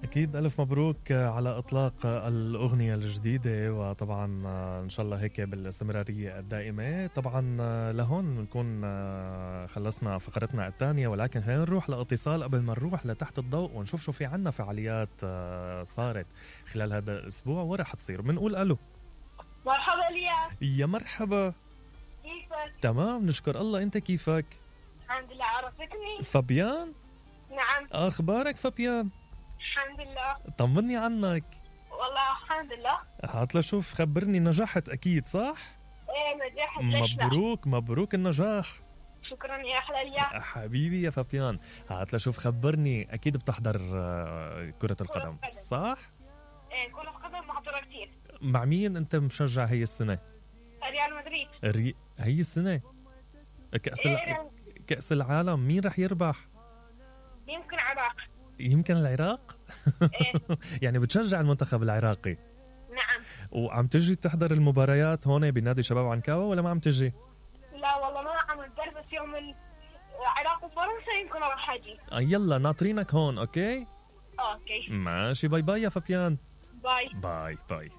أكيد ألف مبروك على إطلاق الأغنية الجديدة، وطبعا إن شاء الله هيك بالاستمرارية الدائمة. طبعا لهون نكون خلصنا فقرتنا الثانية، ولكن خلينا نروح لاتصال قبل ما نروح لتحت الضوء ونشوف شو في عنا فعاليات صارت خلال هذا الأسبوع ورح تصير. بنقول ألو. مرحبا الياس. يا مرحبا. كيفك؟ تمام نشكر الله، أنت كيفك؟ الحمد لله. عرفتني؟ فابيان؟ نعم. أخبارك فابيان؟ الحمد لله. طمني عنك. والله الحمد لله. هات لشوف، خبرني، نجحت أكيد صح؟ ايه نجحت. ليش لا؟ مبروك مبروك النجاح. شكرا يا أحلى الياس. حبيبي يا فابيان، هات لشوف خبرني، أكيد بتحضر كرة القدم صح؟ ايه كرة القدم محضرة كتير. مع مين أنت مشجع هي السنة؟ ريال مدريد. هي السنة كأس العالم مين رح يربح؟ يمكن العراق. يمكن العراق؟ ايه. يعني بتشجع المنتخب العراقي؟ نعم. وعم تجي تحضر المباريات هون بنادي شباب عنكاوة ولا ما عم تجي؟ لا والله ما عم ندرس يوم العراق وفرنسا يمكن راح اجي. يلا ناطرينك هون. اوكي اوكي ماشي. باي باي يا فابيان. باي باي باي.